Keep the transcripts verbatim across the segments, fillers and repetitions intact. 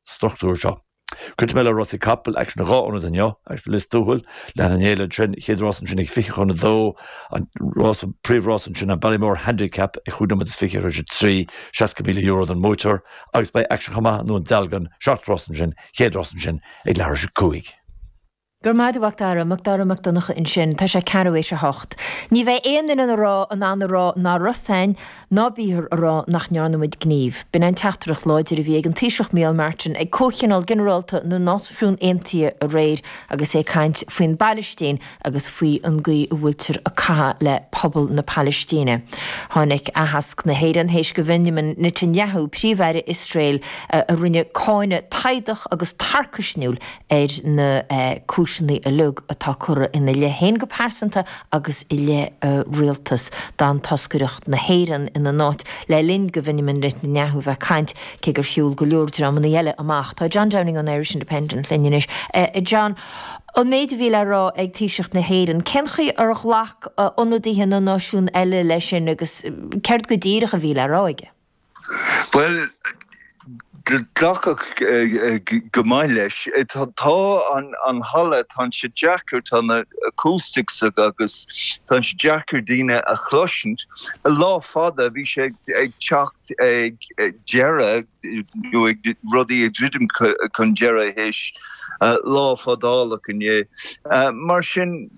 struchtúr seo. Cuid mé le rásaí capall aicsean dhá ionad inniu agus Lios Tuathail leis an fhéile sin chéad rás ansin ag fiche chun a dó an rás príomhrás ansin an Ballymore Handicap ag cúig nóiméad is fiche tar éis a trí seasca míle euro don mbuaiteoir agus beidh aicsean chomh maith i nDún Dealgan seacht rás ansin chéad rás ansin ag leathuair tar éis a cúig. Gur maith Macdara Macdara Mac Donncha ansin tá sé ceathrú théis a hocht. Ní bheidh aon duine rá in ann a rá nach raibh a fhios againn ná bíthar a rá nach ndearna muid gníomh. B'in an teachtaireacht láidir a bhí ag an Taoiseach Micheál Martin ag Comhthionól Ginearálta na Náisiún Aontaithe aréir agus é ag caint faoin bPalaistín agus faoi an gcaoi a bhfuiltear ag caitheamh le pobal na Palaistíne. Tháinig aitheasc na hÉireann théis do Benjamin Netanyahu príomh-aire Iosrael a rinne cáineadh taghdach agus tarcaisniúil ar na cúiseanna uilig atá curtha ina leith féin go pearsanta agus i leith rialtas d'fhan toscaireacht na hÉireann ina n-áit le linn do Benjamin Netanyahu bheith ag caint cé gur shiúil go leor dreamanna eile amach. Tá John Downing an Irish Independent linn anois. Uh, John, an méid a bhí le rá ag Taoiseach na hÉireann, Cén chaoi ar ghlac ionadaithe na náisiún eile leis sin agus céard go díreach a bhí le rá aige. Well, glacadh go maith leis tá an an halla tá sé deacair tá na acoustics agus tá sé deacair daoine a chloisint. A lá fada bhí sé ag teacht ag deireadh nó ag rudaí ag druidim chun deireadh théis lá fadálach inné. Mar sin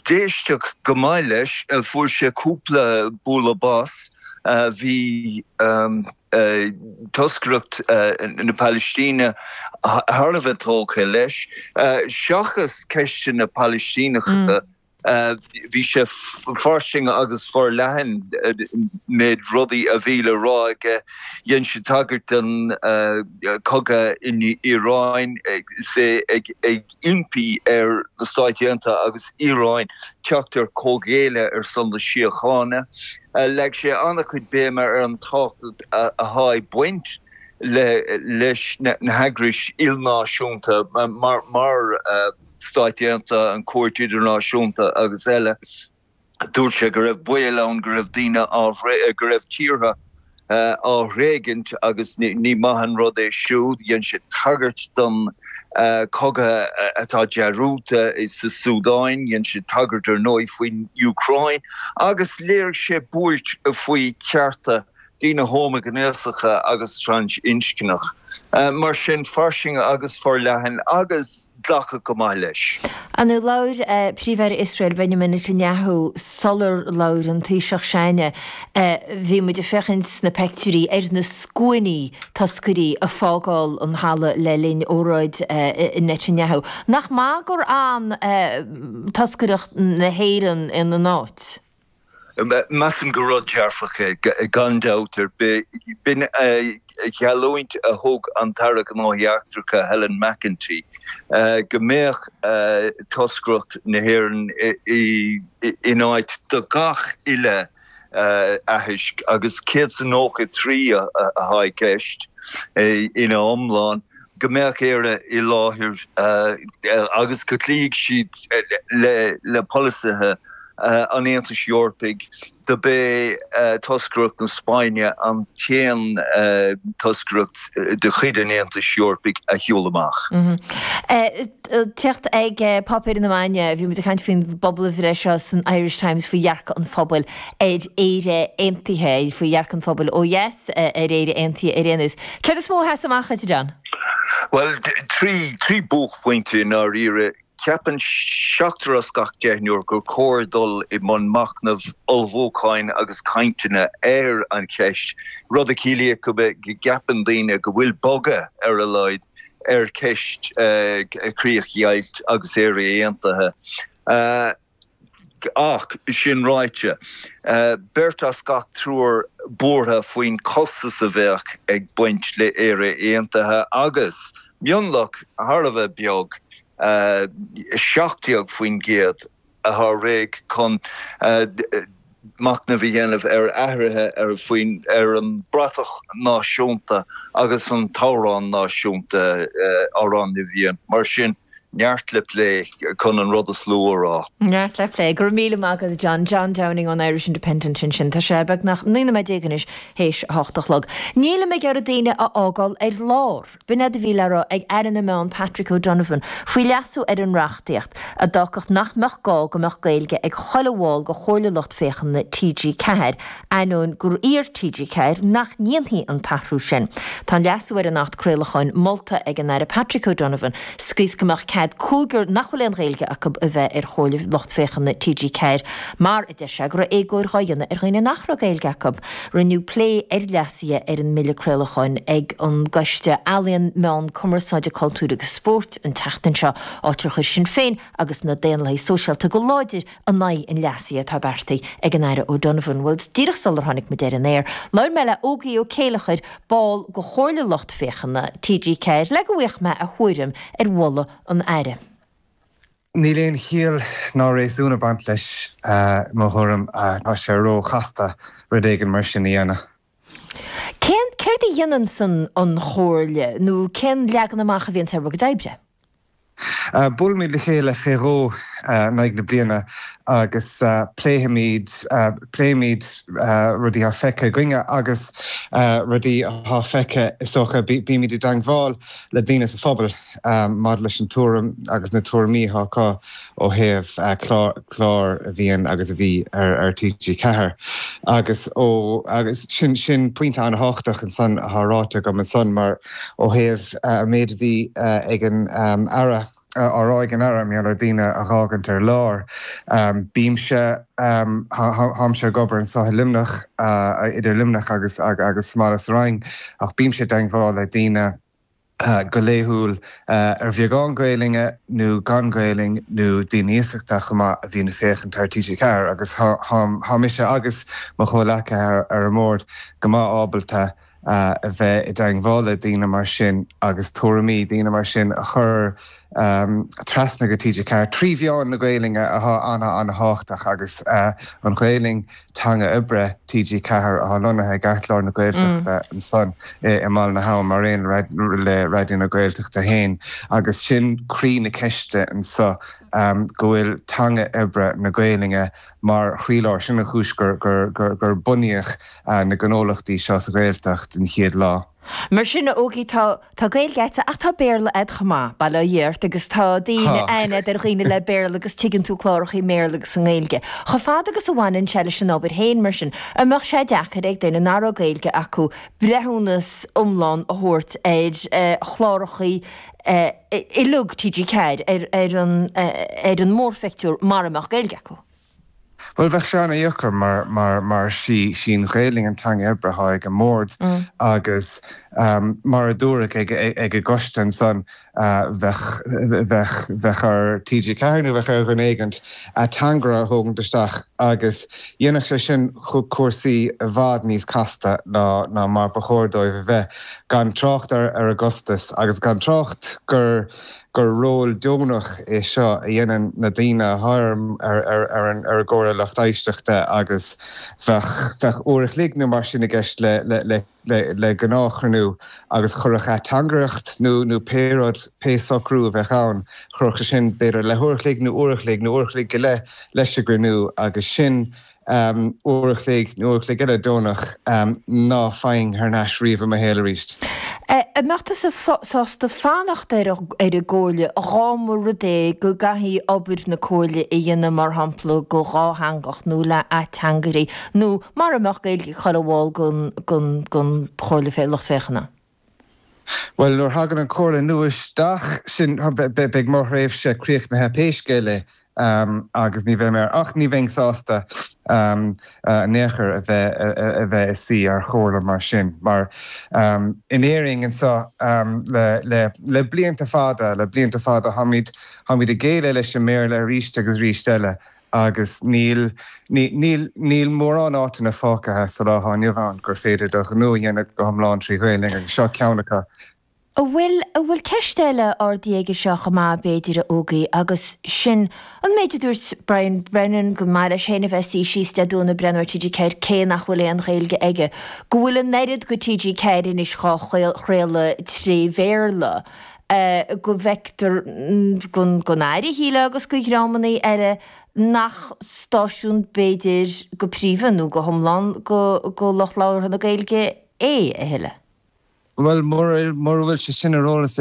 d'éisteadh go maith leis fuair sé cúpla bualadh bos bhí um, toscaireacht na Palaistíne thar a bheith tógtha leis, seachas ceisteanna Palaistíneacha bhí sé fairsing agus forleathan méid rudaí a bhí le rá aige dhein sé tagairt don cogadh in Iaráin sé ag ag impí ar na Stáit Aontaithe agus Iaráin teacht ar comhghéilleadh ar son na síochána. Leag sé an-chuid béime ar an tábhacht atá ag baint le leis na heagrais ilnáisiúnta mar mar Stáit Aontaithe an Chúirt Idirnáisiúnta agus eile. Dúirt sé go raibh baol ann go raibh daoine á go raibh tíortha á thréigint agus ní maith an rud é siúd, dhein sé tagairt don cogadh atá dearúta sa Súdáin, dhein sé tagairt ar ndóigh faoin Úcráin, agus léirigh sé buairt faoi chearta daoine homaighnéasacha agus trasinscneach. Mar sin fairsing agus forleathan agus glacadh go maith leis. An labhair príomh-aire Iosrael Benjamin Netanyahu sular labhair an Taoiseach s'againne bhí muid ag féachaint sna pictiúirí ar na scuainí toscairí ag fágáil an halla le linn óráid Netanyahu. Nach maith gur fhan toscaireacht na hÉireann ina n-áit. Measaim gur rud dearfach é gan dabht ar bith b'in geallúint a thug an tAire Gnóthaí Eachtracha Helen McEntee go mbeadh toscaireacht na hÉireann in áit do gach uile aitheasc agus céad nócha trí atá i gceist ina iomlán go mbeadh Éire i láthair agus go gcloífeadh siad le le polasaithe an Aontais Eorpaigh do b'é toscaireacht na Spáinne an t-aon toscaireacht de chuid an Aontais Eorpaigh a shiúil amach. Teacht ag páipéir na maidine bhí muid ag caint faoin bpobalbhreith seo san Irish Times faoi dhearcadh an phobail ar Éire Aontaithe faoi dhearcadh an phobail ó dheas ar Éire Aontaithe ar aon nós. Céard is mó a sheas amach duit John? Well trí trí buaicphointe i ndáiríre ceapann seachtar as gach deichniúr gur chóir dul i mbun machnamh ullmhúcháin agus cainteanna ar an cheist, rud a chiallaíonn go gceapann daoine go bhfuil bogadh ar a laghad ar cheist críochdheighilt agus Éire Aontaithe. Ach sin ráite, beirt as gach triúr buartha faoin costas a bheadh ag baint le Éire Aontaithe agus mionlach thar a bheith beag seacht déag faoin gcéad atá réidh chun machnamh a dhéanamh ar athruithe ar faoin ar an bhratach náisiúnta agus an t-amhrán náisiúnta Amhrán na bhFiann. Mar sin Neart le plé chun an rud is lú a rá. Neart le plé. Go raibh míle maith agat John. John Downing ón Irish Independent ansin. Tá sé beagnach naoi nóiméad déag anois théis a hocht a chlog. Nílim ag iarraidh daoine a fhágáil ar lár. B'in é a bhí le rá ag Aire na Meán Patrick O'Donovan faoi leasú ar an reachtaíocht a d'fhágfadh nach mbeadh gá go mbeadh Gaeilge ag chuile bhall de Chomhairle Lucht Féachana T G ceathair, ainneoin gur iarr T G ceathair nach ndéanfaí an t-athrú sin. Tá an leasú ar an Acht Craolacháin molta ag an Aire Patrick O'Donovan sa gcaoi is go mbeadh cead cúigear nach bhfuil aon Ghaeilge acu a bheith ar Chomhairle Lucht Féachana T G ceathair mar, a deir sé, go raibh éagóir dhá dhéanamh ar dhaoine nach raibh Gaeilge acu. Rinneadh plé ar leasuithe ar an mBille Craolacháin ag an gCoiste Ealaíon, Meán, Cumarsáide, Cultúir agus Spóirt an tseachtain seo, áit ar chuir Sinn Féin agus na Daonlathaigh Sóisialta go láidir in aghaidh an leasaithe atá beartaithe ag an Aire O'Donovan. Bhuel, díreach sular tháinig muid ar an aer, labhair mé le Ógie Ó Céileachair, ball de Chomhairle Lucht Féachana T G ceathair, le go bhfaigheadh mé a thuairim ar mholadh an Aire. Níl aon chiall ná réasún ag baint leis, i mo thuairim. Tá sé ró-chasta rud éigin mar sin a dhéanamh. Cén, céard a dhéananns an an Chomhairle nó cén leagan amach a bhíonns ar bhur gcuid oibre? Buailimid le chéile fé dhó in aghaidh na bliana agus pléifimid, pléimid rudaí atá feicthe againne agus rudaí atá feicthe, is dócha. Bímid i dteangmháil le daoine sa phobal maidir leis an tuairim agus na tuairimí atá acu ó thaobh clár a bhíonn agus a bhí ar T G ceathair. Agus ó, agus sin, sin pointe an-thábhachtach ansan atá ráite agam ansan mar ó thaobh an méid a bhí ag an Aire, á rá ag an Aire mar gheall ar daoine a dh'fhágaint ar lár. Bímse, táimse ag obair anso i Luimneach, idir Luimneach agus agus sa mbaile sa Rinn, ach bímse i dteangmháil le daoine go laethúil ar bheagán Gaelainne nó gan Gaelainn nó daoine iasachta chomh maith a bhíonn ag féachaint ar T G ceathair agus tá mise agus mo chomhleacaithe ar an mbord go maith ábalta a bheith i dteangmháil le daoine mar sin agus tuairimí daoine mar sin a chur trasna go T G ceathair trí mheán na Gaelainne atá ana-ana-thábhachtach agus an Ghaelainn, teanga oibre T G ceathair atá lonnaithe i gceartlár na Gaeltachta ansan i mBaile na hAbhann mar aon le Raidió na Gaeltachta féin agus sin croí na ceiste anso go bhfuil teanga oibre na Gaelainne mar chroílár, sin an chúis gur gur bunaíodh na gnólachtaí seo sa Ghaeltacht den chéad lá. Mar sin, a Ógie, tá tá Gaeilge agat ach tá Béarla agat chomh maith, bail ó Dhia ort, agus tá daoine aithne agat ar dhaoine le Béarla agus tuigeann tú cláracha i mBéarla agus i nGaeilge. Chomh fada agus a bhaineann sé leis an obair féin, mar sin, an mbeadh sé deacair ag duine nach raibh Gaeilge acu breithiúnas iomlán a thabhairt ar chláracha uilig T G ceathair, ar ar an ar an mórphictiúr mara mbeadh Gaeilge acu? Bhuel, bheadh sé ana-dheacair mar, mar, mar sí, sí an Ghaelainn an teanga oibre atá ag an mbord agus mar a dúradh ag, ag an gcoiste ansan, bheadh, bheadh, bheadh ar T G ceathair nó bheadh ar dhuine éigint ateangaire a thógaint isteach agus dhéanfadh sé sin cúrsaí i bhfad níos casta ná, ná mar ba chóir dóibh a bheith, gan trácht ar, ar an gcostas agus gan trácht gur, gur ról deonach é seo a dhéanann na daoine atá ar ar an gComhairle Lucht Éisteachta agus bheadh bheadh uair a chloig nó mar sin i gceist le le le le gnáthchruinniú agus chuirfeadh ateangaireacht nó nó pé rud, pé socrú a bheadh ann, chuirfeadh sé sin b'fhéidir leathuair a chloig nó uair a chloig nó uair a chloig go leith leis an gcruinniú agus sin uair a chloig nó uair a chloig eile deonach ná faighinn thar n-ais riamh i mo shaol arís. An mbeadh tusa sásta fanacht ar an gComhairle dhá mba rud é go gcaithfí obair na Comhairle a dhéanamh mar shampla go dhátheangach nó le ateangairí nó mara mbeadh Gaeilge ag chuile bhall den Chomhairle Lucht Féachana? Bhuel, nuair a thagann an Chomhairle nua isteach, sin, beidh mo thréimhse críochnaithe pé scéal é agus ní bheidh mé ar, ach ní bheinn sásta in aon chor a bheith a bheith i suí ar chomhairle mar sin, mar in Éirinn anseo le le le blianta fada, le blianta fada, táimid táimid ag géilleadh leis an mBéarla arís agus arís eile agus níl níl níl mórán áiteanna fágtha sa lá atá inniu ann gur féidir do ghnó a dhéanamh go hiomlán trí Ghaelainn agus seo ceann acu. An bhfuil, an bhfuil ceist eile ardaithe aige seo chomh maith, b'fhéidir, a Ógie, agus sin an méid a dúirt Brian Brennan, go maith leis féin a bheith suí síos Dé Domhnaigh ag breathnú ar T G ceathair cé nach bhfuil aon Ghaeilge aige, go bhfuil an oiread go T G ceathair anois dhá chraoladh tré Bhéarla. go bhfeictear don Aire, shílfeá, agus do dhreamanna eile nach stáisiún b'fhéidir go príomha nó go hiomlán do lucht labhartha na Gaeilge é a thuilleadh. Bhuel, mura bhfuil sé sin ar eolas